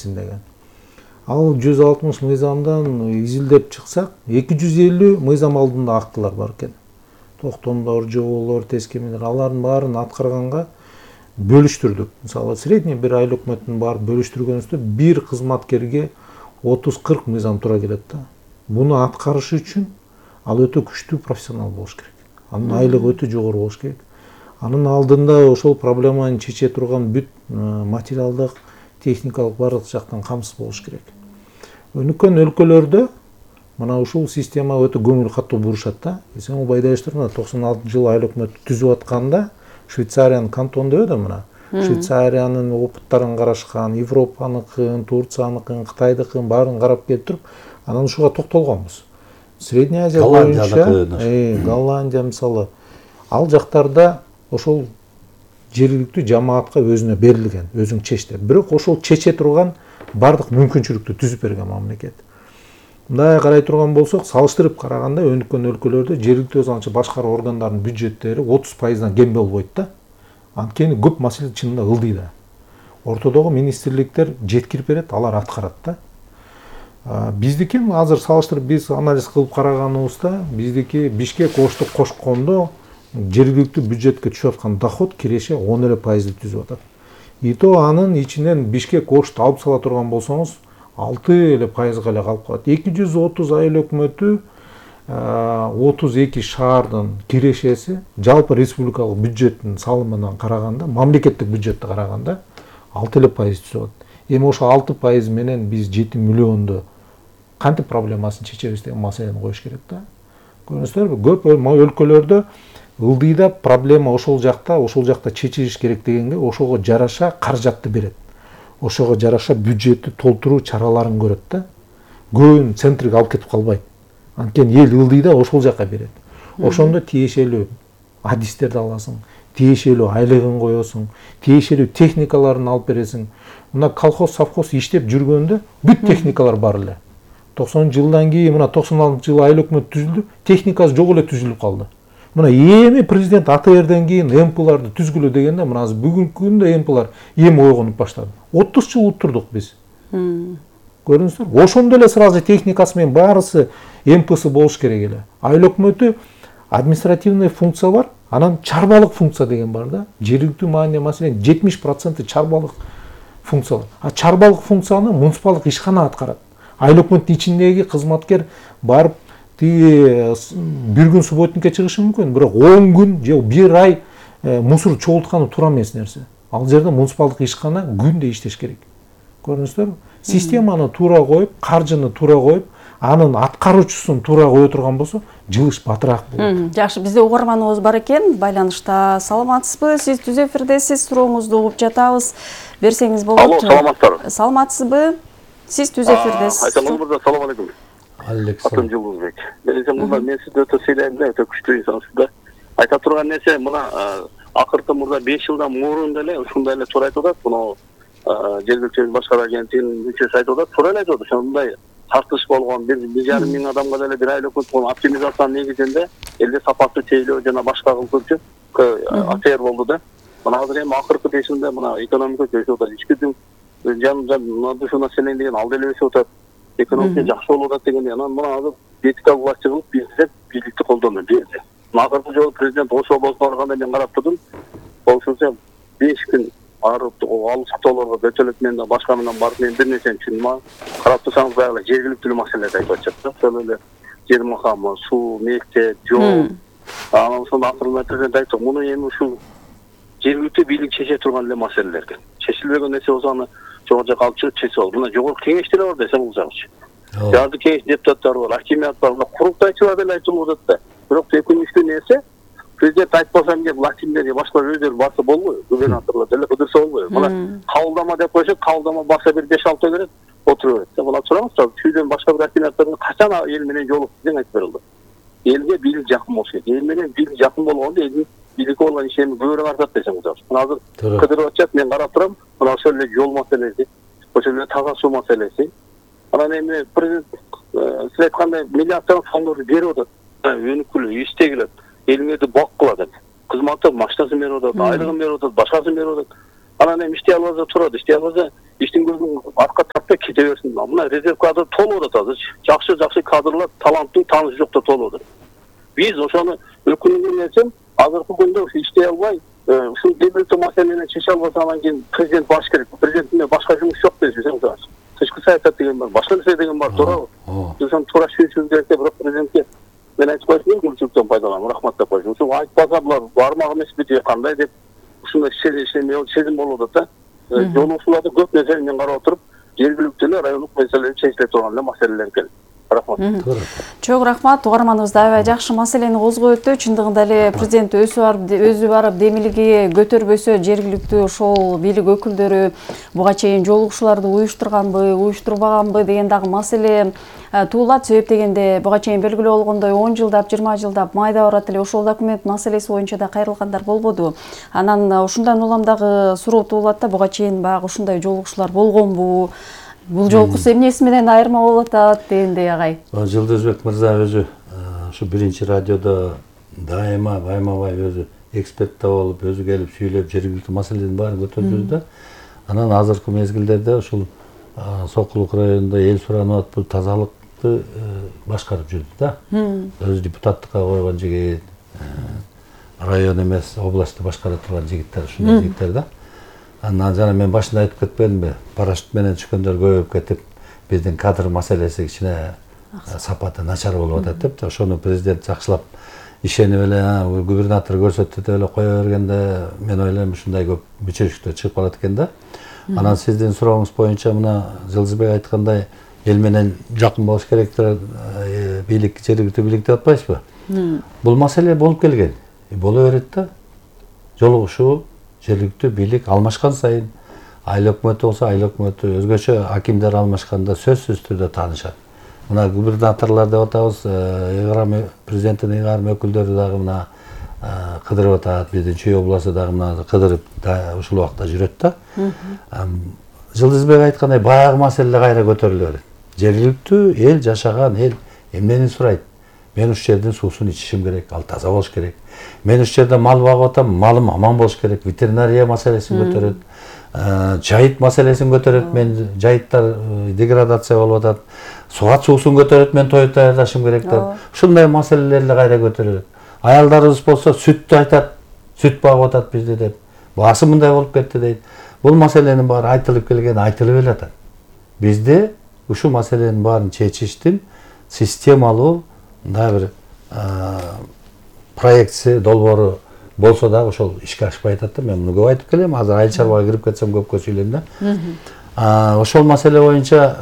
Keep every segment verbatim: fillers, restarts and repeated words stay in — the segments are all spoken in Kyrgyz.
берилсин деген. Ал жүз алтымыш мыйзамдан изилдеп чыксак, эки жүз элүү мыйзам алдында актылар бар экен. Токтомдор, жоболор, тескемелер, алардын баарын аткарганга бөлүштүрдүк. Мисалы, средний бир айыл өкмөтүнүн баарын бөлүштүргөнүздө бир кызматкерге отуз кырк мыйзам туура келет да. Буну аткарышы үчүн ал өтө күчтүү профессионал болуш керек. Анын айлыгы өтө жогору болуш керек. Анын алдында ошол проблеманы чече турган бүт материалдык, техникалык барлык жактан камсыз болуш керек. Өнүккөн өлкөлөрдө мына ушул система өтө көңүл каттуу бурушат да. Сен Байдаштар мына токсон алтынчы жылы айыл өкмөтү түзүп атканда Швейцариянын кантон деп да мына. Швейцариянын опыттарын карашкан, Европаныкын, Турцияныкын, Кытайдыкын баарын карап келип туруп, анан ушуга токтолгонбуз. Средняя Азия боюнча, Голландия мисалы, ал жактарда ошол жергиликтүү жамаатка өзүнө берилген, өзүң чеч деп. Бирок ошол чече турган бардык мүмкүнчүлүктү түзүп берген мамлекет. Мындай карай турган болсок, салыштырып караганда өнүккөн өлкөлөрдө жергиликтүү өз атчы башкаруу органдарынын бюджеттери отуз пайыздан кем болбойт да. Анткени көп маселе чынында ылдый да. Ортодогу министрликтер жеткирип берет, алар аткарат да. Биздики азыр салыштырып биз анализ кылып караганыбызда, биздики Бишкек Ошту кошкондо жергиликтүү бюджетке түшүп аткан доход киреше он эле пайызды түзүп атат. И то анын ичинен Бишкек Ошту алып сала турган болсоңуз, алты эле пайызга эле калып калат. эки жүз отуз айыл өкмөтү, отуз эки шаардын кирешеси жалпы республикалык бюджеттин салымынан караганда, мамлекеттик бюджетти караганда алты эле пайыз түзүп атат. Эми ошо алты пайыз менен биз жети миллионду кантип проблемасын чечебиз деген маселени коюш керек да. Көрүңүздөрбү, көп өлкөлөрдө ылдыйда проблема ошол жакта, ошол жакта чечилиш керек дегенге ошого жараша каражатты берет. Ошого жараша бюджетти толтуруу чараларын көрөт да. Көбүн центриге алып кетип калбайт. Анткени эл ылдыйда ошол жака берет. Ошондо тиешелүү адистерди аласың, тиешелүү айлыгын коесуң, тиешелүү техникаларын алып бересиң. Мына колхоз, совхоз иштеп жүргөндө бүт техникалар бар эле. токсонунчу жылдан кийин мына токсон алтынчы жылы айыл өкмөт түзүлдү, техникасы жок эле түзүлүп калды. Мына эми президент А Т Р'ден кийин эм пыларды түзгүлө дегенде, мына азыр бүгүнкү күндө эм пылар эми ойгонуп баштады. отуз жыл утурдук биз. Көрүңүздөр, ошондо эле сразу техникасы менен баарысы эм пысы болуш керек эле. Айыл өкмөтү административный функция бар, анан чарбалык функция деген бар да. Жергиликтүү маанидеги маселенин жетимиш проценти чарбалык функциялар. А чарбалык функцияны муниципалдык ишкана аткарат. Айыл өкмөттүн ичиндеги кызматкер барып тиги бир күн субботникке чыгышы мүмкүн, бирок он күн же бир ай мусор чогултканы туура эмес нерсе. Ал жерде муниципалдык ишкана күндө иштеш керек. Көрүңүздөрбү? Системаны туура коюп, каржыны туура коюп, анын аткаруучусун туура кое турган болсо, жылыш батыраак болот. Жакшы, бизде угарманыбыз бар экен, байланышта. Саламатсызбы? Сиз түз эфирдесиз, сурооңузду угуп жатабыз. Берсеңиз болот. Алло, саламатсызбы? Саламатсызбы? Сиз түз эфирдесиз. Айтамын мырза, салам алейкум. Александр Жылбек. Мен мына мен сизди өтө сыйлайм да, өтө күчтүү инсансыз да. Айта турган нерсе, мына акыркы мурда беш жылдан мурун деле ушундай эле туура айтып атат. Мына жергиликтүү башкаруу агенттигинин мүчөсү айтып атат, туура эле айтып атат. Ошондой тартыш болгон, бир жарым миң адамга деле бир айыл өкмөт болгон оптимизациянын негизинде элде сапаттуу тейлөө жана башка кылчу А Т Р болду да. Мына азыр эми акыркы беш жылда мына экономика өсүп атат. Ички жан жан ушул население деген ал деле өсүп атат. Экономика жакшы болуп атат дегенде, анан мына азыр политика власть кылып бизде бийликти колдонуу бизде. Акыркы жолу президент Ош облусуна барганда мен карап турдум. Ошончо беш күн арып алыс тоолорго көчөлөт менен да башка менен барып мен бир нерсени түшүндүм. Карап турсаңыз баягы жергиликтүү маселелерди айтып атышат да. Ошол эле жер макамы, суу, мектеп, жол. Анан ошондо акырында президент айтты, муну эми ушул жергиликтүү бийлик чече турган эле маселелер экен. Чечилбеген нерсе болсо аны жогору жака алып чыгып чечип алып. Мына жогорку кеңештер бар десе булжагычы. Жарды кеңеш депутаттары бар, акимият бар, курултайчылар деле айтылып атат да. Бирок өкүнүчтүү нерсе, президент айтпасам деп властимдер башкалар өздөрү барса болбойбу, губернаторлор деле кыдырса болбойбу. Мына кабылдама деп койсок, кабылдама баса бир беш алты берет, отуруп берет. Мына тураңыз, чүйдөн башка бир акимияттардын качан эл менен жолукту деген айтып берилди. Элге бийлик жакын болуш керек. Эл менен бийлик жакын болгондо элдин бийликке болгон ишени көбүрөөк артат десем болот. Мына азыр кыдырып атышат, мен карап турам, мына ошол эле жол маселеси, ошол эле таза суу маселеси. Анан эми президент сиз айткандай миллиарддаган фондорду берип атат. Өнүкүлүү, истегилет, элиңерди бак кылат деп. Кызматтык машинасын берип атат, айлыгын берип атат, башкасын берип атат. Анан эми иштей албаса турат, иштей албаса иштин көзүн артка тартпай кете берсин. Мына резерв кадр толуп атат азыр. Жакшы жакшы кадрлар, таланттуу, таанышы жоктор толуп атат. Биз ошону өкүнүп нерсем азыркы күндө иштей албай, ушул жергиликтүү маселени чече албаса анан кийин президент баш керек. Президенттин башка жумуш жок десем, тышкы саясат деген бар, башка нерсе деген бар, туурабы? Ошону туура чечүү керек деп, бирок президентке мен айтып коюшмун, мүмкүнчүлүктөн пайдаланып, рахмат деп коюшмун. Ушул айтпаса булар бармак эмес бити кандай деп ушундай сезим болуп атат да. Жолугушууларда көп нерсени мен карап отуруп, жергиликтүү эле райондук маселелер чечиле турган эле маселелер экен. Рахмат. Чоң рахмат. Угарманыбыз да жакшы маселени козгой өттү. Чындыгында эле президент өзү барып өзү барып демилиги көтөрбөсө, жергиликтүү ошол бийлик өкүлдөрү буга чейин жолугушууларды уюштурганбы, уюштурбаганбы деген дагы маселе туулат. Себеп дегенде буга чейин белгилүү болгондой он жылдап, жыйырма жылдап майда барат эле ошол документ маселеси боюнча да кайрылгандар болбоду. Анан ушундан улам дагы суроо туулат да, буга чейин баягы ушундай жолугушуулар болгонбу? Бул жолкусу эмнеси менен айырма болуп атат дегендей агай. Жылдызбек мырза өзү ушу биринчи радиодо дайыма байма-бай өзү экспертте болуп, өзү келип сүйлөп, жергиликтүү маселенин баарын көтөрдү да. Анан азыркы мезгилдерде ушул Сокулук районунда эл суранып атып, тазалыкты башкарып жүрдү да. Өзү депутаттыкка койгон жигит, район эмес, областты башкара турган жигиттер, ушундай жигиттер да. Анан жана мен башында айтып кетпедимби, парашют менен түшкөндөр көбөйүп кетип, биздин кадр маселеси кичине сапаты начар болуп атат деп, ошону президент жакшылап ишенип эле, губернатор көрсөтүп эле кое бергенде, мен ойлойм ушундай көп бүчөлүктөр чыгып калат экен да. Анан сиздин сурооңуз боюнча мына Жылдызбек айткандай, эл менен жакын болуш керек, бийлик, жергиликтүү бийлик деп атпайсызбы? Бул маселе болуп келген, боло берет да. Жолугушуу жергиликтүү бийлик алмашкан сайын, айыл өкмөтү болсо айыл өкмөтү, өзгөчө акимдер алмашканда сөзсүз түрдө таанышат. Мына губернаторлор деп атабыз, ыйгарым президенттин ыйгарым өкүлдөрү дагы мына кыдырып атат, биздин Чүй областы дагы мына кыдырып ушул убакта жүрөт да. Жылдызбек айткандай баягы маселе кайра көтөрүлө берет. Жергиликтүү эл жашаган эл эмнени сурайт? Мен уш жердин суусун ичишим керек, ал таза болуш керек. Мен уш жерде мал багып атам, малым аман болуш керек. Ветеринария маселесин көтөрөт, жайыт маселесин көтөрөт. Мен жайыттар деградация болуп атат. Сугат суусун көтөрөт, мен той даярдашым керек деп. Ушундай маселелерди кайра көтөрөт. Аялдарыбыз болсо сүттү айтат, сүт багып атат бизде деп. Баасы мындай болуп кетти дейт. Бул маселенин баары айтылып келген, айтылып эле атат. Бизде ушул маселенин баарын чечиштин системалуу мындай бир проектси, долбоору болсо дагы ошол ишке ашпай атат да. Мен муну көп айтып келем, азыр айыл чарбага кирип кетсем көпкө сүйлөйм да. Ошол маселе боюнча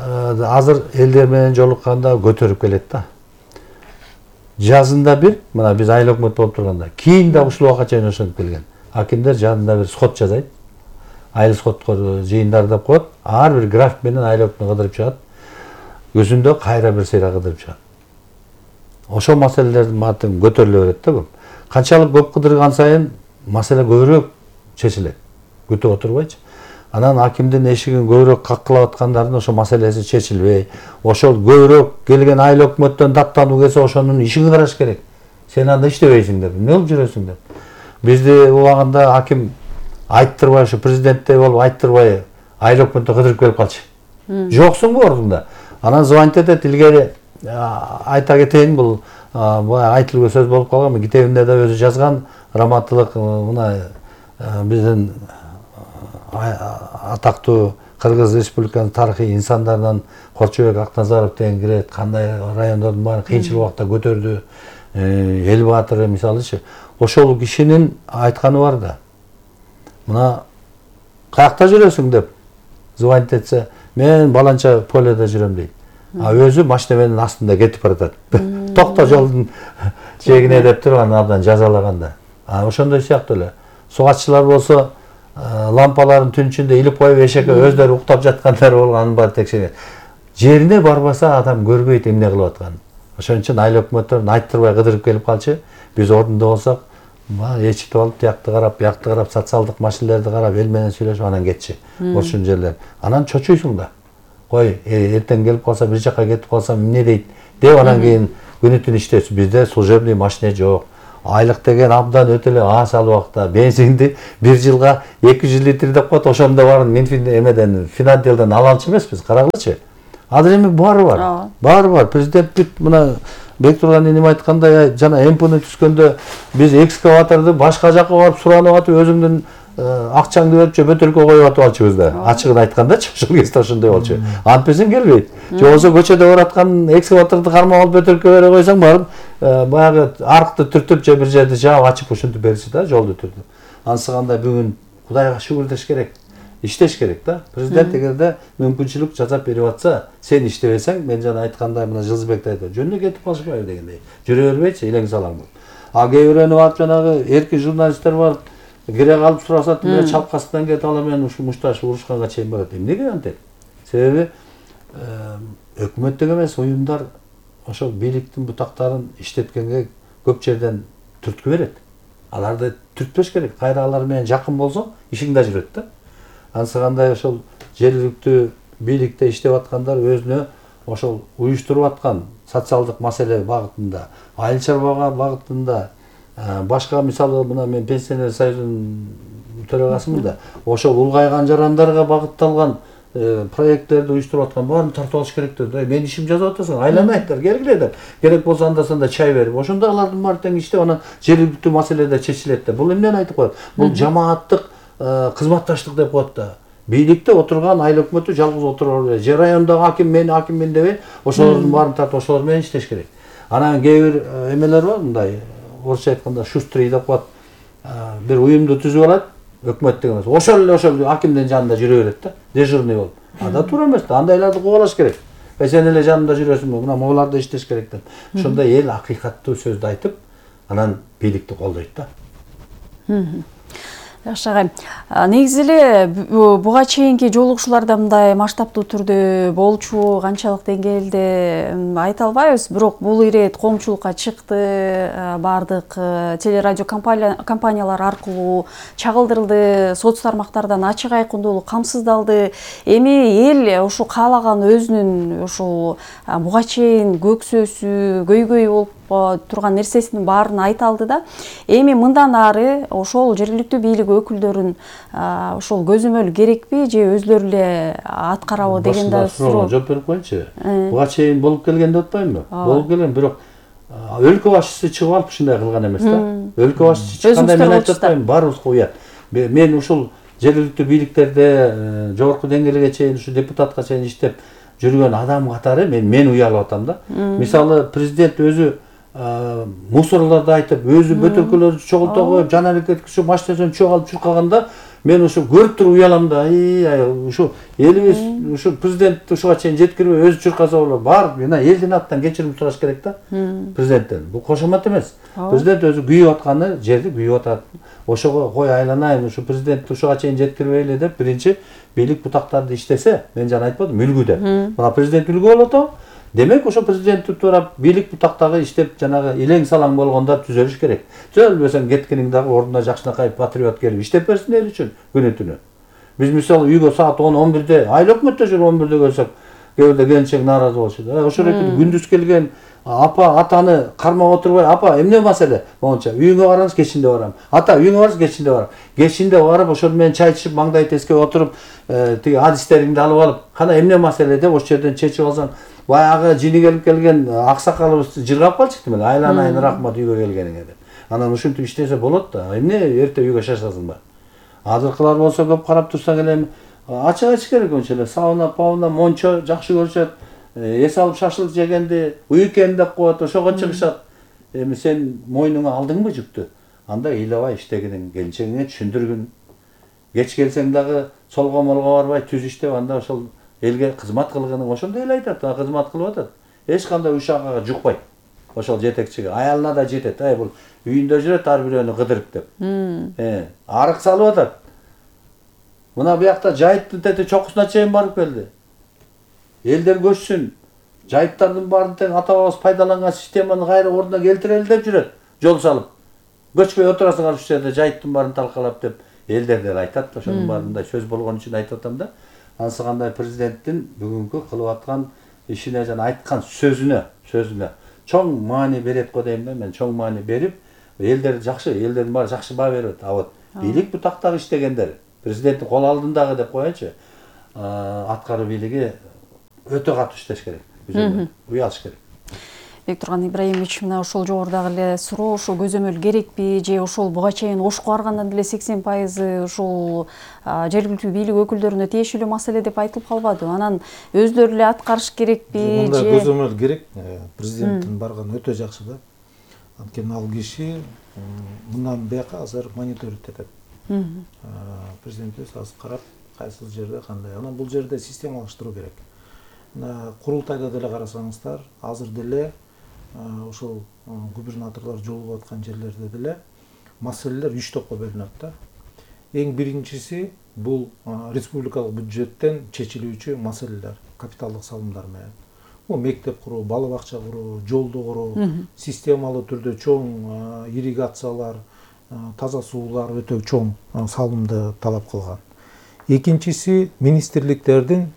азыр элдер менен жолукканда көтөрүп келет да. Жазында бир, мына биз айыл өкмөт болуп турганда, кийин да ушул убакка чейин ошентип келген. Акимдер жадында бир сход жазайт. Айыл сходкор жыйындар деп коет. Ар бир график менен айыл өкмөтүн кыдырып чыгат. Өзүндө кайра бир сейра кыдырып чыгат. Ошол маселелердин баарын көтөрүлө берет да көп. Канчалык көп кыдырган сайын маселе көбүрөөк чечилет. Күтүп отурбайчы. Анан акимдин эшигин көбүрөөк каккылап аткандардын ошол маселеси чечилбей, ошол көбүрөөк келген айыл өкмөттөн даттануу келсе ошонун ишин караш керек. Сен анда иштебейсиң деп, эмне болуп жүрөсүң деп. Бизди убагында аким айттырбай, ушу президенттей болуп айттырбай, айыл өкмөттө кыдырып келип калчы. Жоксуңбу ордунда? Анан звонить этет, илгери айта кетейин, бул айтылган сөз болуп калган, китебинде да өзү жазган, раматтылык мына биздин атактуу Кыргыз Республиканын тарыхый инсандарынан Корчобек Акназаров деген кирет, кандай райондордун баарын кыйынчыл убакта көтөрдү, эл баатыры мисалычы. Ошол кишинин айтканы бар да. Мына каякта жүрөсүң деп звонить этсе, мен баланча поледе жүрөм дейт. А өзү машина менен астында кетип баратат. Токто жолдун жээгине деп туруп анан абдан жазалаганда. А ошондой сыяктуу эле. Сугатчылар болсо лампаларын түн ичинде илип коюп эшекке өздөрү уктап жаткандар болгонун бар текшерген. Жерине барбаса адам көрбөйт эмне кылып атканын. Ошон үчүн айыл өкмөттөрүн айттырбай кыдырып келип калчы. Биз ордунда болсок, эчитип алып, тиякты карап, биякты карап, социалдык маселелерди карап, эл менен сүйлөшүп анан кетчи. Ошол жерлер. Анан чочуйсуң да. Кой, эртең келип калса, бир жакка кетип калсам эмне дейт деп анан кийин күнү түн иштейсиз. Бизде служебный машина жок. айлык деген абдан өтө эле аз убакта бензинди бир жылга эки жүз литр деп коет, ошондо баарын Минфин эмеден Финанделден ала алчу эмеспиз, карагылычы. Азыр эми баары бар. Баары бар. Президент бүт мына Бектурган энем айткандай жана МПны түзгөндө биз экскаваторду башка жакка барып суранып атып өзүңдүн акчаңды берип же бөтөлкө коюп атып алчубыз да. Ачыгын айткандачы, ошол кезде ошондой болчу. Антпесен келбейт. Же болбосо көчөдө бараткан экскаваторду кармап алып бөтөлкө бере койсоң барып баягы арыкты түртүп же бир жерди жаап ачып ушинтип бериши да, жолду түртүп. Ансыганда бүгүн Кудайга шүгүрдөш керек. Иштеш керек да. Президент эгерде мүмкүнчүлүк жасап берип атса, сен иштебесең, мен жана айткандай мына Жылдызбек айтты, жөнүнө кетип калышпайбы дегендей. Жүрө бербейчи, илең салаң болуп. А кээ бирөөнү барып жанагы эркин журналисттер барып керек алып сурасат, мен чапкасынан кетип ала мен ушу мушташ урушканга чейин барат. Эмнеге антет? Себеби өкмөттүк эмес уюмдар ошол бийликтин бутактарын иштеткенге көп жерден түрткү берет. Аларды түртпөш керек. Кайра алар менен жакын болсоң, ишиң да жүрөт да. Ансыгандай ошол жергиликтүү бийликте иштеп аткандар өзүнө ошол уюштуруп аткан социалдык маселе багытында, айыл чарбага багытында, башка мисалы мына мен пенсионер союзунун төрагасымын да, ошол улгайган жарандарга багытталган проекттерди уюштуруп аткан баарын тартып алыш керек да. Мен ишим жазып атасың, айланайттар, келгиле. Керек болсо анда санда чай берип, ошондо алардын баары тең иштеп, анан жергиликтүү маселелер чечилет да. Бул эмнени айтып коет? Бул жамааттык кызматташтык деп коет да. Бийликте отурган айыл өкмөтү жалгыз отура албайт. Же райондогу аким мен акиммин дебей, ошолордун баарын тартып ошолор менен иштеш керек. Анан кээ бир эмелер бар, мындай орусча айтканда шустрый деп коет. Бир уюмду түзүп алат, өкмөттүк эмес. Ошол эле ошол акимдин жанында жүрө берет да, дежурный болуп. Анда туура эмес да, андайларды кубалаш керек. Э сен эле жанында жүрөсүңбү? Мына могуларды иштеш керек деп. Ошондой эл акыйкаттуу сөздү айтып, анан бийликти колдойт да. Жакшы агай. Негизи эле буга чейинки жолугушууларда мындай масштабтуу түрдө болчу, канчалык деңгээлде айта албайбыз, бирок бул ирет коомчулукка чыкты, бардык телерадио компаниялар аркылуу чагылдырылды, соц тармактардан ачык айкындуулуу камсыздалды. Эми эл ушу каалаган өзүнүн ушул буга чейин көксөсү, көйгөй болуп турган нерсесинин баарын айта алды да. Эми мындан ары ошол жергиликтүү бийлик өкүлдөрүн ошол көзөмөл керекпи же өзлөрү эле аткарабы деген да суроо. Жооп берип коеюнчу. Буга чейин болуп келген деп атпаймынбы? Болуп келген, бирок өлкө башчысы чыгып алып ушундай кылган эмес да. Өлкө башчысы чыкканда мен айтып атпаймынбы, баарыбызга уят. Мен ушул жергиликтүү бийликтерде жогорку деңгээлге чейин, ушу депутатка чейин иштеп жүргөн адам катары мен мен уялып атам да. Мисалы президент өзү мусорларды айтып, өзү бөтөлкөлөрдү чогулта коюп, жан аракет кылып, машинасынан чогулуп чуркаганда мен ушу көрүп туруп уялам да. Ушу элибиз ушу президент ушуга чейин жеткирбей өзү чуркаса болот. Бар, мына элдин атынан кечирим сураш керек да президенттен. Бул кошомат эмес. Президент өзү күйүп атканы жерди күйүп атат. Ошого кой айланайын, ушу президент ушуга чейин жеткирбей эле деп биринчи бийлик бутактарды иштесе, мен жана айтпадым, үлгү деп. Мына президент үлгү болуп атабы? Демек ошо президенттик туурап бийлик бутактагы иштеп жанагы илең салаң болгондор түзөлүш керек. Түзөлбөсөң кеткениң дагы ордуна жакшынакай патриот келип иштеп берсин эл үчүн күнү түнү. Биз мисалы үйгө саат он он бирде, айыл өкмөттө жүрүп он бирде келсек, кээ бирде келинчек нааразы болушат. Ошол эки күндүз келген апа атаны кармап отурбай, апа эмне маселе? Монча үйүңө барабыз, кечинде барам. Ата үйүңө барабыз, кечинде барам. Кечинде барып ошол менен чай ичип, маңдай тескеп отуруп, тиги адистериңди алып алып, кана эмне маселе деп ошол жерден чечип алсаң, баягы жини келип келген аксакалыбыз жыргап калчыктı мен. Айланайын рахмат үйгө келгениңе деп. Анан ушинтип иштесе болот да. Эмне эрте үйгө шашасыңбы? Азыркылар болсо көп карап турсаң эле ачык айтыш керек ошол эле. Сауна, пауна, мончо жакшы көрүшөт. Эс алып шашылык жегенди уикенд деп коет, ошого чыгышат. Эми сен мойнуңа алдыңбы жүктү? Анда ыйлабай иштегиниң, келинчегиңе түшүндүргүн. Кеч келсең дагы солго молго барбай түз иштеп, анда ошол элге кызмат кылгының ошондой эле айтат, кызмат кылып атат. Эч кандай ушагага жукпайт. Ошол жетекчиге, аялына да жетет. Ай бул үйүндө жүрөт ар бирөөнү кыдырып деп. Э, арык салып атат. Мына буякта жайыттын тети чокусуна чейин барып келди. Элдер көчсүн. Жайыттардын баарын тең ата бабабыз пайдаланган системаны кайра ордуна келтирели деп жүрөт. Жол салып. Көчпөй отурасыңар ушул жерде жайыттын баарын талкалап деп элдер деле айтат. Ошонун баарында сөз болгон үчүн айтып атам да. Ансыгандай президенттин бүгүнкү кылып аткан ишине жана айткан сөзүнө, сөзүнө чоң маани берет го дейм да мен, чоң маани берип, элдер жакшы, элдердин баары жакшы баа берип атат. А вот бийлик бутактагы иштегендер, президенттин кол алдындагы деп коеюнчу, аткаруу бийлиги өтө катуу иштеш керек. Уялыш керек. Бектурган Ибраимович, мына ошол жогорудагы эле суроо, ошол көзөмөл керекпи же ошол буга чейин Ошко баргандан деле сексен пайызы ошол жергиликтүү бийлик өкүлдөрүнө тиешелүү маселе деп айтылып калбады. Анан өздөрү эле аткарыш керекпи же? Мындай көзөмөл керек. Президенттин барганы өтө жакшы да. Анткени ал киши мындан бияка азыр мониторинг этет. Президент өзү азыр карап, кайсы жерде кандай. Анан бул жерде системалаштыруу керек. Мына курултайда деле карасаңыздар, азыр деле ошол губернаторлор жолугуп аткан жерлерде деле маселелер үч топко бөлүнөт да. Эң биринчиси бул республикалык бюджеттен чечилүүчү маселелер, капиталдык салымдар менен. Бул мектеп куруу, бала бакча куруу, жолду куруу, системалуу түрдө чоң ирригациялар, таза суулар өтө чоң салымды талап кылган. Экинчиси министрликтердин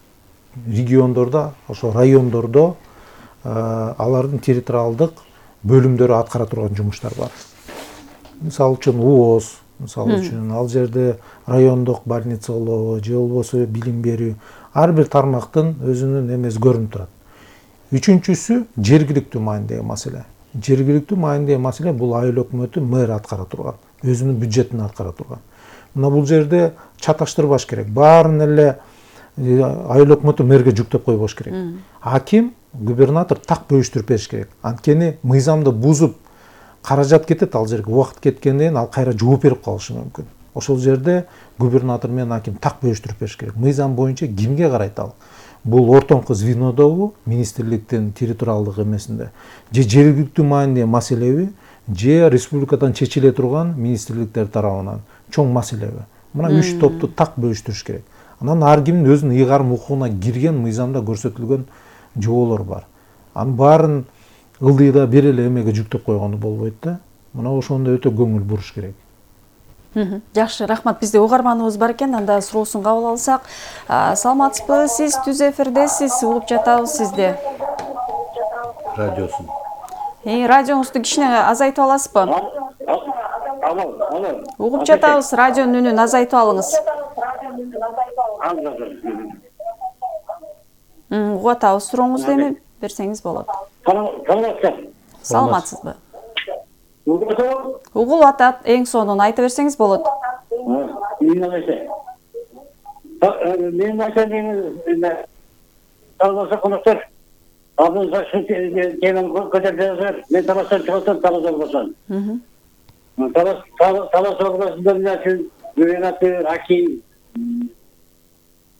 региондордо, ошо райондордо алардын территориалдык бөлүмдөрү аткара турган жумуштар бар. Мисалы үчүн УОЗ, мисалы үчүн ал жерде райондук больница болобу, же болбосо билим берүү, ар бир тармактын өзүнүн эмеси көрүнүп турат. Үчүнчүсү жергиликтүү маанидеги маселе. Жергиликтүү маанидеги маселе бул айыл өкмөтү мэр аткара турган, өзүнүн бюджетин аткара турган. Мына бул жерде чаташтырбаш керек. Баарын эле айыл өкмөтү мэрге жүктөп койбош керек. Аким, губернатор так бөлүштүрүп бериш керек. Анткени мыйзамды бузуп каражат кетет, ал жерге убакыт кеткенден кийин ал кайра жооп берип калышы мүмкүн. Ошол жерде губернатор менен аким так бөлүштүрүп бериш керек. Мыйзам боюнча кимге карайт ал? Бул ортоңку звенодобу, министрликтин территориалдык эмесинде, же жергиликтүү маанидеги маселеби, же республикадан чечиле турган министрликтер тарабынан чоң маселеби. Мына үч топту так бөлүштүрүш керек. Анан ар кимдин өзүнүн ыйгарым укугуна кирген мыйзамда көрсөтүлгөн жоболор бар. Анын баарын ылдыйда бир эле эмеге жүктөп койгону болбойт да. Мына ошондо өтө көңүл буруш керек. Жакшы, рахмат. Бизде угарманыбыз бар экен, анда суроосун кабыл алсак. Саламатсызбы? Сиз түз эфирдесиз, угуп жатабыз сизди. Радиосун. Э, радионузду кичине азайтып аласызбы? Алло, алло. Угуп жатабыз, радионун үнүн азайтып алыңыз. Угуп атабыз, сурооңузду эми берсеңиз болот. Саламатсызбы? Угулуп атат, эң сонун айта берсеңиз болот. Мен айтайын, таласа конуктар, абын сакшы теманы көтөрүп жатыр. Мен таластан чыгасам, талас болбосун. Талас областында үчүн губернатор, аким,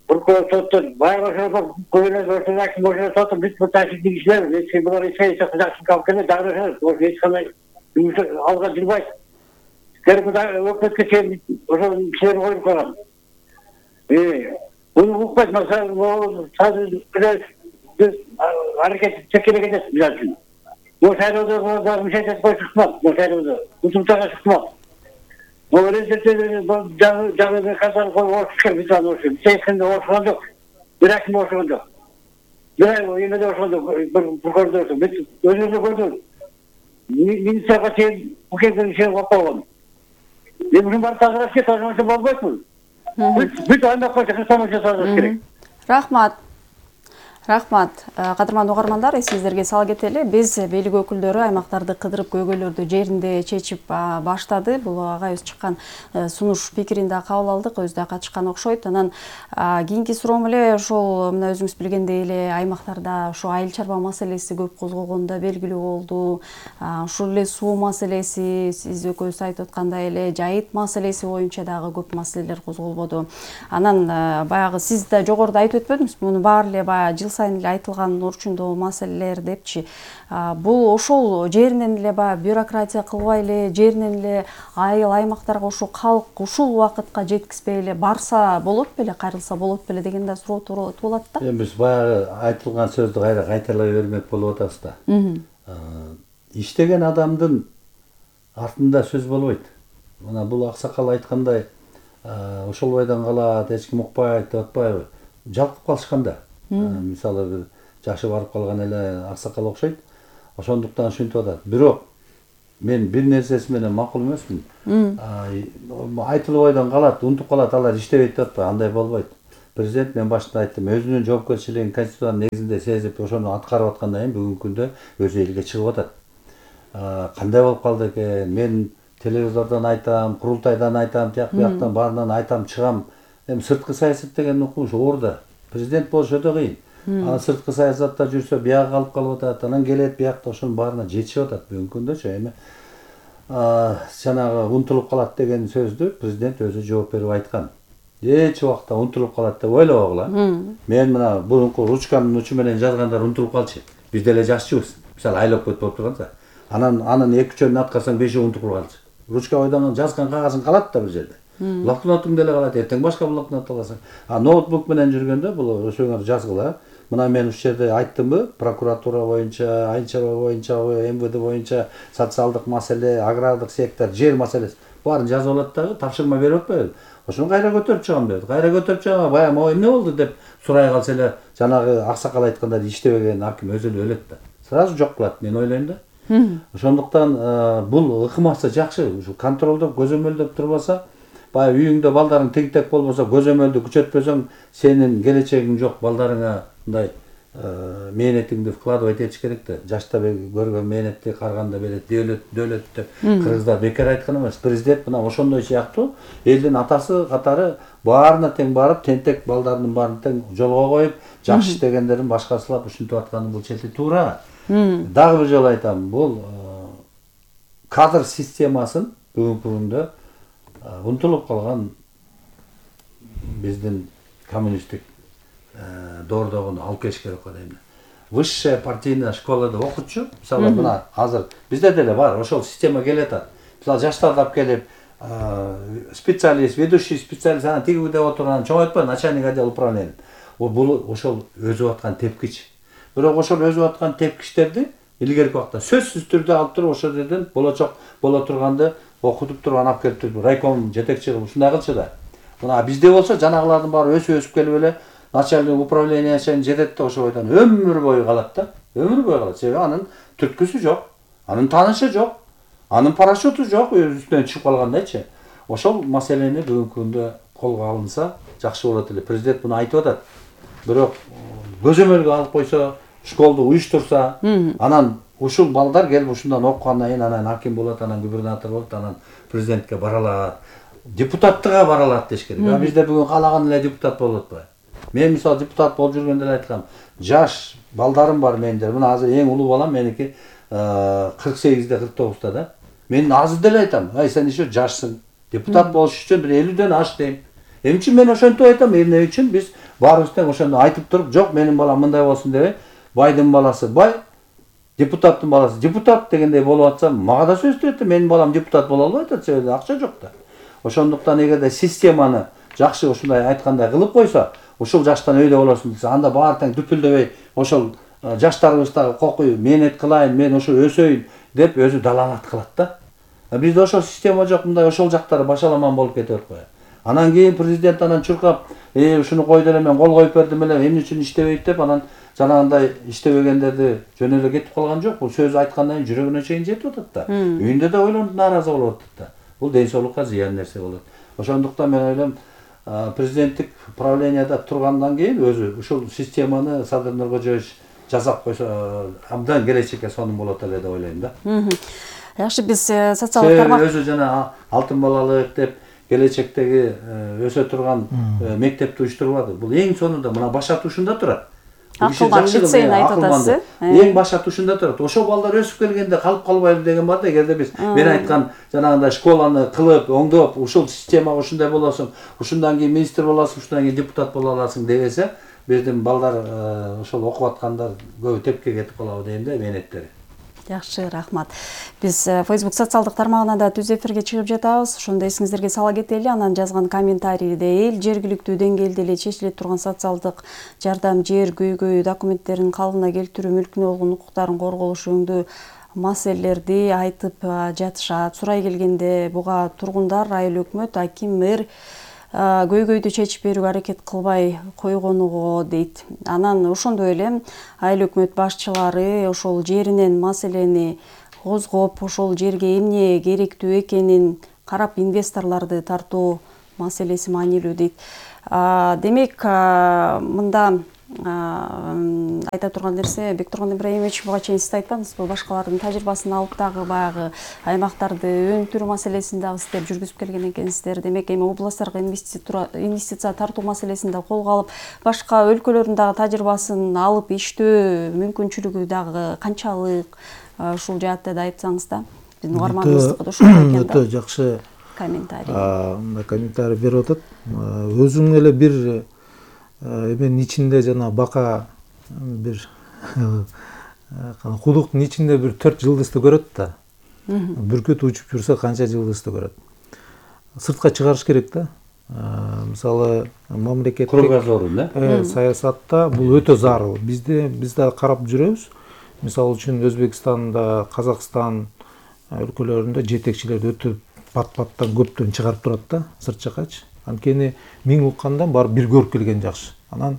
прокурор, соттор, байбашылар, губернатор, аким, башына соттор, бүт бул ташкенттеги кишилер, эч булар эч кайсы жакшы калып келет, дагы ошо эч кандай алга жүрбөйт. Кыргызда өкмөткө чейин ошо кишилерди коюп койгон. Буну укпайт, масалан, биз аракет чекелек эмес биз үчүн. Бул шайлоодо дагы мишет коюп чыкмак, бул шайлоодо. Утуктага чыкмак. Бул результаты жагы казар коюп отушка биз аны ошо. Сейскенде отушкан жок. Бирок ким отушкан жок. Бирок эмеде отушкан жок. Бир прокурор бүт өзүнө көрдү. Министрга чейин укегин ишин коюп койгон. Мен ушун баары тазалаш керек, тазаласа болбойт. Бүт аймакка чыксам жасаш керек. Рахмат. Рахмат. Кадырман угармандар, эсиңиздерге сала кетели. Биз бийлик өкүлдөрү аймактарды кыдырып көйгөйлөрдү жеринде чечип баштады. Бул агайыбыз чыккан сунуш пикирин да кабыл алдык, өзү да катышкан окшойт. Анан кийинки суроом эле ошол мына өзүңүз билгендей эле аймактарда ошо айыл чарба маселеси көп козголгону да белгилүү болду. Ушул эле суу маселеси, сиз экөөбүз айтып аткандай эле жайыт маселеси боюнча дагы көп маселелер козголбоду. Анан баягы сиз да жогоруда айтып өтпөдүңүзбү? Муну баары эле баягы жыл сайын эле айтылган орчундагы маселелер депчи. Бул ошол жеринен эле баягы бюрократия кылбай эле, жеринен эле айыл аймактарга ошо калк ушул убакытка жеткизбей эле барса болот беле, кайрылса болот беле деген да суроо туулат да. Эми биз баягы айтылган сөздү кайра кайталай бермек болуп атабыз да. Иштеген адамдын артында сөз болбойт. Мына бул аксакал айткандай, ошол бойдон калат, эч ким укпайт деп атпайбы? Жалкып калышкан да. Мисалы бир жашы барып калган эле аксакал окшойт. Ошондуктан ушинтип атат. Бирок мен бир нерсеси менен макул эмесмин. Айтылып ойдон калат, унутуп калат, алар иштебейт деп атпайбы, андай болбойт. Президент мен башында айттым, өзүнүн жоопкерчилигин конституциянын негизинде сезип, ошону аткарып аткандан кийин бүгүнкү күндө өзү элге чыгып атат. Кандай болуп калды экен? Мен телевизордон айтам, курултайдан айтам, тияк бияктан баарынан айтам, чыгам. Эми сырткы саясат деген укмуш оор да. Президент болуш өтө кыйын. Анан сырткы саясатта жүрсө бияга калып калып атат, анан келет биякта ошонун баарына жетишип атат бүгүнкү күндөчү. Эми жанагы унутулуп калат деген сөздү президент өзү жооп берип айткан. Эч убакта унутулуп калат деп ойлобогула. Мен мына бурунку ручканын учу менен жазгандар унутулуп калчу. Биз деле жашчыбыз. Мисалы айлап көт болуп турганса. Анан анын эки үчөөнүн аткарсаң бешөө унутуп калчу. Ручка ойдон жазган кагазың калат да бир жерде. Блокнотуң деле калат, эртең башка блокнот аласың. А ноутбук менен жүргөндө бул ошоңор жазгыла. Мына мен ушул жерде айттымбы, прокуратура боюнча, айыл чарба боюнча, эм вэ дэ боюнча, социалдык маселе, агрардык сектор, жер маселеси баарын жазып алат дагы, тапшырма берип атпайбы? Ошону кайра көтөрүп чыгам деп. Кайра көтөрүп чыгам, баягы могу эмне болду деп сурай калса эле жанагы аксакал айткандай иштебеген аким өзү эле өлөт да. Сразу жок кылат, мен ойлойм да. Ошондуктан бул ыкмасы жакшы, ушу контролдоп, көзөмөлдөп турбаса, баягы үйүңдө балдарың тегтек болбосо, көзөмөлдү күчөтпөсөң, сенин келечегиң жок, балдарыңа мындай мээнетиңди вкладывать этиш керек да. Жашта көргөн мээнетти карганда берет, дөөлөт, дөөлөт деп кыргыздар бекер айткан эмес. Президент мына ошондой сыяктуу элдин атасы катары баарына тең барып, тентек балдарынын баарын тең жолго коюп, жакшы иштегендерин башкасылап ушинтип атканы бул челти туура. Дагы бир жолу айтам, бул кадр системасын бүгүнкү күндө унутулуп калган биздин коммунисттик доордогуну алып келиш керек го дейм. Высшая партийная школада окутчу, мисалы мына азыр бизде деле бар, ошол система келет атат. Мисалы жаштарды алып келип, специалист, ведущий специалист анан тигиби деп отурган чоңойтпа, начальник отдел управления. Бул ошол өзүп аткан тепкич. Бирок ошол өзүп аткан тепкичтерди илгерки убакта сөзсүз түрдө алып туруп ошол жерден болочок боло турганды окутуп туруп алып келип туруп райком жетекчи кылып ушундай кылчу да. Мына бизде болсо жанагылардын баары өсүп өсүп келип эле начальник управление чейин жетет да ошол бойдон өмүр бою калат да. Өмүр бою калат. Себеби анын түрткүсү жок, анын таанышы жок, анын парашюту жок, үстүнөн чыгып калгандайчы. Ошол маселени бүгүнкү күндө колго алынса жакшы болот эле. Президент муну айтып атат. Бирок көзөмөлгө алып койсо, школду уюштурса, анан ушул балдар келип ушундан окугандан кийин анан аким болот, анан губернатор болот, анан президентке бара алат, депутаттыкка бара алат деш керек. А бизде бүгүн каалаган эле депутат болуп атпайбы? Мен мисалы депутат болуп жүргөндө эле айткам, жаш балдарым бар менде. Мына азыр эң улуу балам меники кырк сегизде, кырк тогузда да. Мен азыр деле айтам, ай сен еще жашсың. Депутат болуш үчүн бир элүүдөн аш дейм. Эмне үчүн мен ошентип айтам? Эмне үчүн биз баарыбыз тең ошону айтып туруп, жок менин балам мындай болсун дебей, байдын баласы бай, депутаттын баласы депутат дегендей болуп атса, мага да сөз берет, менин балам депутат боло албайт атат, себеби акча жок да. Ошондуктан эгерде системаны жакшы ушундай айткандай кылып койсо, ушул жаштан өйдө болосуң десе, анда баары тең дүпүлдөбөй, ошол жаштарыбыздагы кокуй, мээнет кылайын, мен ошо өсөйүн деп өзү далалат кылат да. Бизде ошол система жок, мындай ошол жактары башаламан болуп кетип атпайбы? Анан кийин президент анан чуркап, э ушуну койду эле мен кол коюп бердим эле, эмне үчүн иштебейт деп анан жанагындай иштебегендерди жөн эле кетип калган жок. Бул сөз айткандан кийин жүрөгүнө чейин жетип атат да. Үйүндө да ойлонуп нааразы болуп атат да. Бул ден соолукка зыян нерсе болот. Ошондуктан мен ойлойм, президенттик правленияда тургандан кийин өзү ушул системаны Садыр Нуркожоевич жасап койсо, абдан келечекке сонун болот эле деп ойлойм да. Жакшы, биз социалдык тармак өзү жана алтын балалык деп келечектеги өсө турган мектепти уюштурбады. Бул эң сонунда мына башат ушунда турат. Акылган лицейин айтып атасыз. Эң башат ушунда турат. Ошол балдар өсүп келгенде калып калбайлы деген бар да, эгерде биз мен айткан жанагындай школаны кылып, оңдоп, ушул система ушундай болосуң, ушундан кийин министр болосуң, ушундан кийин депутат боло аласың дебесе, биздин балдар ошол окуп аткандар көбү тепке кетип калабы дейм да, мээнеттери. Жакшы, рахмат. Биз Facebook социалдык тармагына да түз эфирге чыгып жатабыз. Ошондо эсиңиздерге сала кетели, анан жазган комментарийде эл жергиликтүү деңгээлде эле чечиле турган социалдык жардам, жер, көйгөй документтерин калыбына келтирүү, мүлкүнө болгон укуктарын корголуш жөнүндө маселелерди айтып жатышат. Сурай келгенде буга тургундар, айыл өкмөт, аким, мэр көйгөйдү чечип берүүгө аракет кылбай койгонуго дейт. Анан ошондой эле айыл өкмөт башчылары ошол жеринен маселени козгоп ошол жерге эмне керектүү экенин карап инвесторлорду тартуу маселеси маанилүү дейт. Демек мында айта турган нерсе, Бектурган Ибраимович, буга чейин сиз айтпадыңызбы, башкалардын тажрыйбасын алып дагы баягы аймактарды өнүктүрүү маселесин дагы сиздер жүргүзүп келген экенсиздер. Демек эми областтарга инвестиция тартуу маселесин да колго алып, башка өлкөлөрдүн дагы тажрыйбасын алып иштөө мүмкүнчүлүгү дагы канчалык, ушул жаатта да айтсаңыз да. Биздин угарманыбыздыкы да ушундай экен да. Өтө жакшы комментарий. Мындай комментарий берип атат. Өзүң эле бир эменин ичинде жана бака бир кудуктун ичинде бир төрт жылдызды көрөт да. Бүркүт учуп жүрсө канча жылдызды көрөт. Сыртка чыгарыш керек да. Мисалы мамлекеттик кругозорун, э саясатта бул өтө зарыл. Бизде биз да карап жүрөбүз. Мисалы үчүн Өзбекстанда, Казакстан өлкөлөрүндө жетекчилер өтө пат-паттан көптөн чыгарып турат да, сырт жакачы. Анткени миң уккандан барып бир көрүп келген жакшы. Анан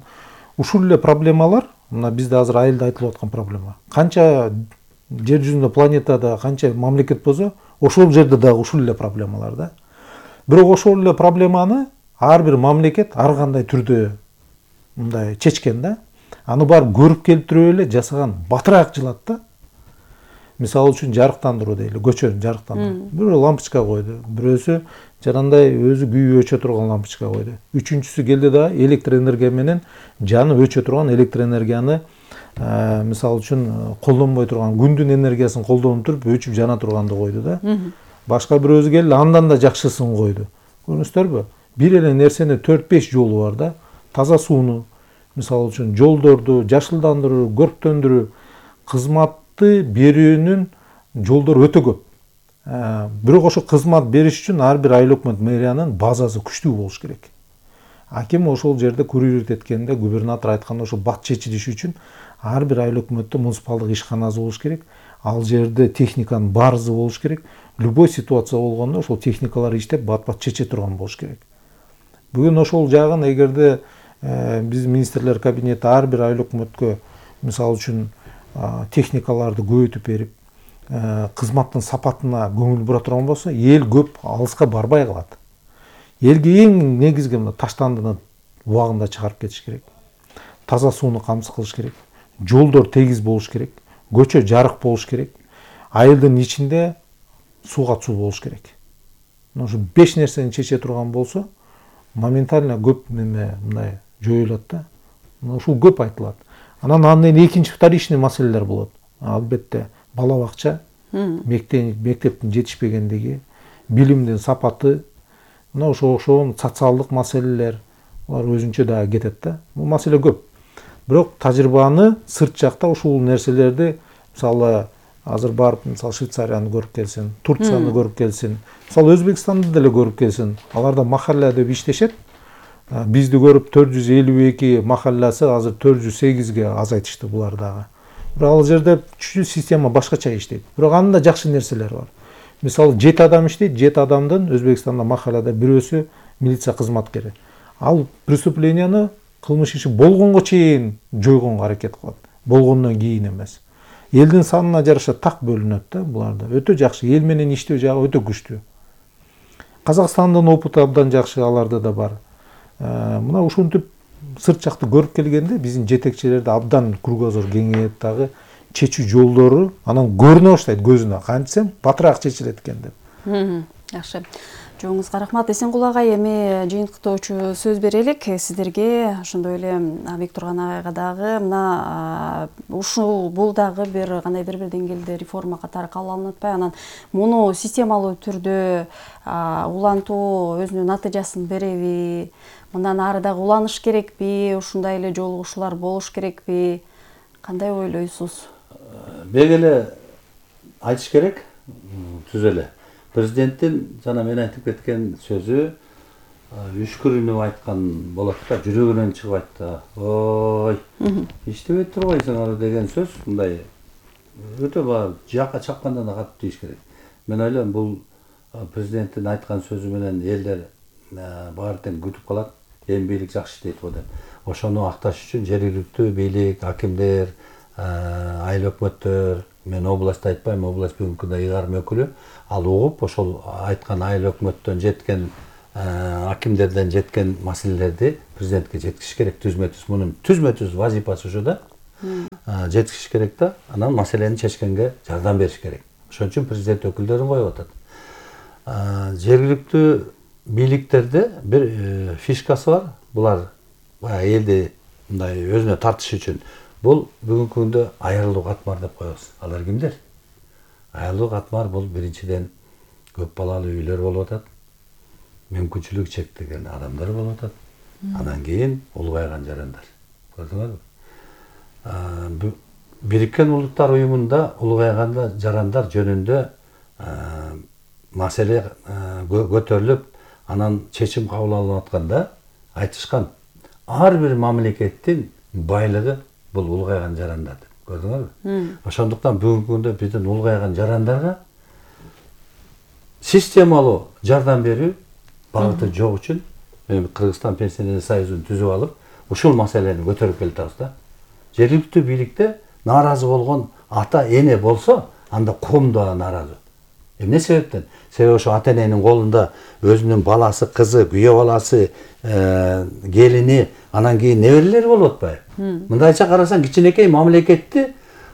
ушул эле проблемалар, мына бизде азыр айылда айтылып аткан проблема. Канча жер жүзүндө планетада канча мамлекет болсо, ошол жерде дагы ушул эле проблемалар да. Бирок ошол эле проблеманы ар бир мамлекет ар кандай түрдө мындай чечкен да. Аны барып көрүп келтирип эле жасаган батыраак жылат да. Мисалы үчүн жарыктандыруу дейли, көчөнү жарыктандыруу. Бирөө лампочка койду, бирөөсү жанагындай өзү күйүү өчө турган лампочка койду. Үчүнчүсү келди да электр энергия менен жанып өчө турган электр энергияны мисалы үчүн колдонбой турган күндүн энергиясын колдонуп туруп өчүп жана турганды койду да. Башка бирөөсү келди, андан да жакшысын койду. Көрдүңүздөрбү? Бир эле нерсени төрт беш жолу бар да. Таза сууну, мисалы үчүн жолдорду жашылдандыруу, көрктөндүрүү, кызматты берүүнүн жолдору өтө көп. Бирок ошо кызмат бериш үчүн ар бир айыл өкмөт мэриянын базасы күчтүү болуш керек. Аким ошол жерде курировать эткенде, губернатор айтканда ошо бат чечилиш үчүн ар бир айыл өкмөттө муниципалдык ишканасы болуш керек. Ал жерде техниканын баарысы болуш керек. Любой ситуация болгондо ошол техникалар иштеп бат-бат чече турган болуш керек. Бүгүн ошол жагын эгерде биз министрлер кабинети ар бир айыл өкмөткө мисалы үчүн техникаларды көбөйтүп берип, кызматтын сапатына көңүл бура турган болсо, эл көп алыска барбай калат. Элге эң негизги мына таштандыны убагында чыгарып кетиш керек. Таза сууну камсыз кылыш керек. Жолдор тегиз болуш керек. Көчө жарык болуш керек. Айылдын ичинде сууга суу болуш керек. Ошо беш нерсени чече турган болсо, моментально көп неме мындай жоюлат да. Ушул көп айтылат. Анан андан экинчи вторичный маселелер болот. Албетте бала бакча, мектептин жетишпегендиги, билимдин сапаты, мына ошо ошол социалдык маселелер, алар өзүнчө дагы кетет да. Бул маселе көп. Бирок тажрыйбаны сырт жакта ушул нерселерди, мисалы азыр барып, мисалы Швейцарияны көрүп келсин, Турцияны көрүп келсин, мисалы Өзбекстанды деле көрүп келсин. Аларда махалла деп иштешет. Бизди көрүп төрт жүз элүү эки махалласы азыр төрт жүз сегизге азайтышты булар дагы. Бирок ал жерде чүчүү система башкача иштейт. Бирок анын да жакшы нерселери бар. Мисалы жети адам иштейт, жети адамдын Өзбекстанда махаллада бирөөсү милиция кызматкери. Ал преступленияны, кылмыш иши болгонго чейин жойгонго аракет кылат. Болгондон кийин эмес. Элдин санына жараша так бөлүнөт да буларда. Өтө жакшы, эл менен иштөө жагы өтө күчтүү. Казакстандын опыты абдан жакшы, аларда да бар. Мына ушинтип сырт жакты көрүп келгенде биздин жетекчилерде абдан кругозор кеңейет дагы, чечүү жолдору анан көрүнө баштайт көзүнө. Кантсем батыраак чечилет экен деп. Жакшы. Жоңузга рахмат. Эсенкул агай, эми жыйынтыктоочу сөз берелик сиздерге. Ошондой эле Бектурган агайга дагы мына ушул бул дагы бир кандайдыр бир деңгээлде реформа катары кабыл алынып атпайбы? Анан муну системалуу түрдө улантуу өзүнүн натыйжасын береби? Мындан ары дагы уланыш керекпи? Ушундай эле жолугушуулар болуш керекпи? Кандай ойлойсуз? Бек эле айтыш керек, түз эле. Президенттин жана мен айтып кеткен сөзү үшкүрүнүп айткан болот да, жүрөгүнөн чыгып айтты. Ой, иштебей турбайсың ары деген сөз мындай өтө бар жакка чапканда да катып тийиш керек. Мен ойлойм, бул президенттин айткан сөзү менен элдер баары тең күтүп калат. Эми бийлик жакшы иштейт го деп. Ошону акташ үчүн жергиликтүү бийлик, акимдер, айыл өкмөттөр, мен областты айтпайм, область бүгүнкү күндө ыйгарым өкүлү, ал угуп ошол айткан айыл өкмөттөн жеткен, акимдерден жеткен маселелерди президентке жеткизиш керек. Түзмө түз мунун түзмө түз вазифасы ушу да. Жеткизиш керек да, анан маселени чечкенге жардам бериш керек. Ошон үчүн президент өкүлдөрүн коюп атат. Жергиликтүү бийликтерде бир фишкасы бар. Булар баягы элди мындай өзүнө тартыш үчүн. Бул бүгүнкү күндө айрылуу катмар деп коебуз. Алар кимдер? Айрылуу катмар бул биринчиден көп балалуу үйлөр болуп атат. Мүмкүнчүлүгү чектелген адамдар болуп атат. Анан кийин улгайган жарандар. Көрдүңөрбү? Бириккен Улуттар уюмунда улгайган жарандар жөнүндө маселе көтөрүлүп, анан чечим кабыл алынып атканда айтышкан ар бир мамлекеттин байлыгы бул улгайган жарандар деп. Көрдүңөрбү? Ошондуктан бүгүнкү күндө биздин улгайган жарандарга системалуу жардам берүү багыты жок үчүн мен Кыргызстан пенсионер союзун түзүп алып, ушул маселени көтөрүп келатабыз да. Жергиликтүү бийликте нааразы болгон ата эне болсо, анда ком да нааразы. Эмне себептен? Себеби ошо ата эненин колунда өзүнүн баласы, кызы, күйөө баласы, келини, анан кийин неберелери болуп атпайбы? Мындайча карасаң, кичинекей мамлекетти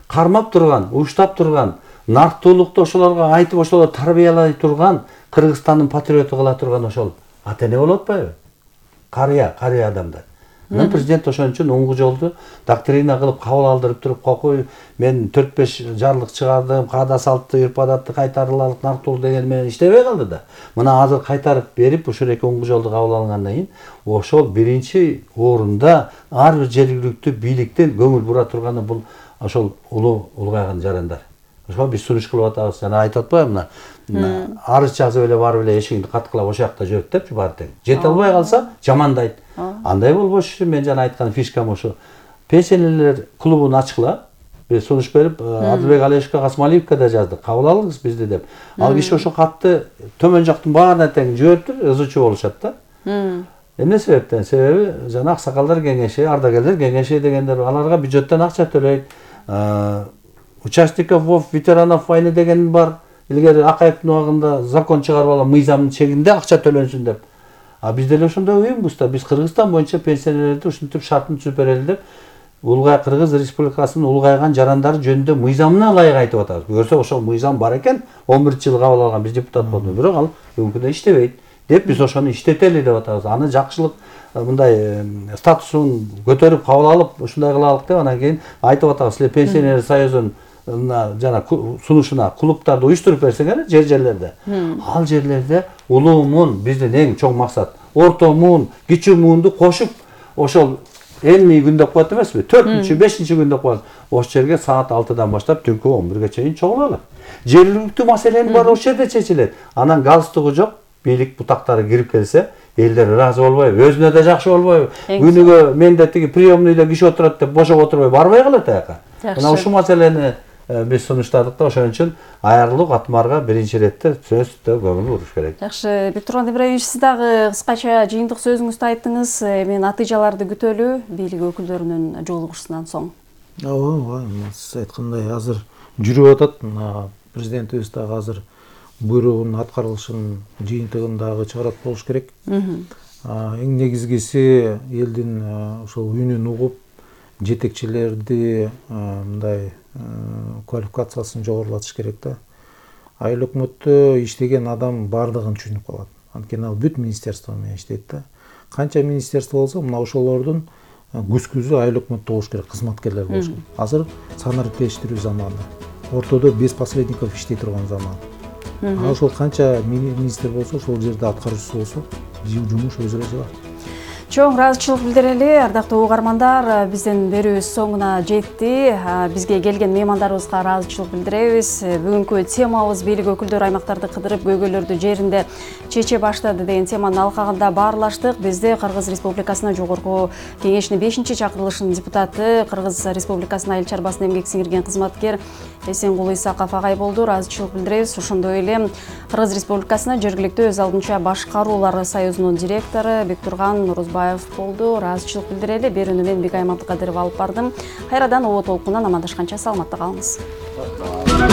кармап турган, уштап турган, нарктуулукту ошолорго айтып, ошолорду тарбиялай турган, Кыргызстандын патриоту кыла турган ошол ата эне болуп атпайбы? Карыя, карыя адамдар. Анан президент ошон үчүн оңгу жолду доктрина кылып кабыл алдырып туруп, кокуй мен төрт беш жарлык чыгардым, каада салтты, үрп-адатты кайтарылалык, нарктуулук деген менен иштебей калды да. Мына азыр кайтарып берип, ушул эки оңгу жолду кабыл алгандан кийин, ошол биринчи орунда ар бир жергиликтүү бийликтин көңүл бура турганы бул ошол улуу улгайган жарандар. Ошо биз сунуш кылып атабыз. Жана айтып атпаймынбы, мына арыз жазып эле барып эле эшигинди каткылап ошол жакта жүрөт депчи баары тең. Жете албай калса жамандайт. Андай болбошу үчүн мен жана айткан фишкам ошо. Пенсионерлер клубун ачкыла. Биз сунуш берип, Адылбек Алешовго, Касмалиевге да жаздык. Кабыл алыңыз бизди деп. Ал киши ошо катты төмөн жактын баарына тең жибериптир, ызычуу болушат да. Эмне себептен? Себеби жана аксакалдар кеңеши, ардагерлер кеңеши дегендер аларга бюджеттен акча төлөйт. Участников ветеранов войны деген бар. Илгери Акаевдин убагында закон чыгарып алган мыйзамдын чегинде акча төлөнсүн деп. А биз деле ошондой уюмбуз да. Биз Кыргызстан боюнча пенсионерлерди ушинтип шартын түзүп берели деп Улгай Кыргыз Республикасынын улгайган жарандары жөнүндө мыйзамына ылайык айтып атабыз. Көрсө ошол мыйзам бар экен, он биринчи жылы кабыл алган биз депутат болдук, бирок ал бүгүнкү күндө иштебейт деп биз ошону иштетели деп атабыз. Аны жакшылык мындай статусун көтөрүп кабыл алып ушундай кылалык деп анан кийин айтып атабыз. Силер пенсионер союзунун жана сунушуна клубтарды уюштуруп берсеңер жер жерлерде. Ал жерлерде улуу муун биздин эң чоң максат. Орто муун, кичүү муунду кошуп ошол элүү күн деп коет эмеспи? төртүнчү, бешинчи күн деп коет. Ошол жерге саат алтыдан баштап түнкү он бирге чейин чогулалар. Жергиликтүү маселенин баары ошол жерде чечилет. Анан галстугу жок бийлик бутактары кирип келсе, элдер ыраазы болбойбу? Өзүнө да жакшы болбойбу? Күнүгө менде тиги приемныйда киши отурат деп бошоп отурбай барбай калат аяка. Мына ушул маселени биз сунуштадык да, ошон үчүн айрылуу катмарга биринчи иретте сөзсүздө көңүл буруш керек. Жакшы, Бектурган Ибраевич, сиз дагы кыскача жыйынтык сөзүңүздү айттыңыз. Эми натыйжаларды күтөлү бийлик өкүлдөрүнүн жолугушусунан соң. Ооба, сиз айткандай азыр жүрүп атат. Президентибиз дагы азыр буйругунун аткарылышын жыйынтыгын дагы чыгарат болуш керек. Эң негизгиси элдин ошол үнүн угуп, жетекчилерди мындай квалификациясын жогорулатыш керек да. Айыл өкмөттө иштеген адам бардыгын түшүнүп калат. Анткени ал бүт министерство менен иштейт да. Канча министерство болсо, мына ошолордун күз-күзү айыл өкмөттө болуш керек, кызматкерлер болуш керек. Азыр санариптештирүү заманы. Ортодо без посредников иштей турган заман. А ошол канча министр болсо, ошол жерде аткаруучусу болсо, жумуш өзү эле жылат. Чоң ыраазычылык билдирели. Ардактуу угармандар, биздин берүүбүз соңуна жетти. Бизге келген меймандарыбызга ыраазычылык билдиребиз. Бүгүнкү темабыз бийлик өкүлдөрү аймактарды кыдырып көйгөйлөрдү жеринде чече баштады деген теманын алкагында баарлаштык. Бизде Кыргыз Республикасынын жогорку кеңешинин бешинчи чакырылышынын депутаты, Кыргыз Республикасынын айыл чарбасына эмгек сиңирген кызматкер Эсенгул Исаков агай болду. Ыраазычылык билдиребиз. Ошондой эле Кыргыз Республикасынын жергиликтүү өз алдынча башкаруулар союзунун директору Бектурган Нурузбаев болду. Ыраазычылык билдирели. Берүүнү мен Бигай Мамтыкадырова алып бардым. Кайрадан обо толкундан амандашканча саламатта калыңыз.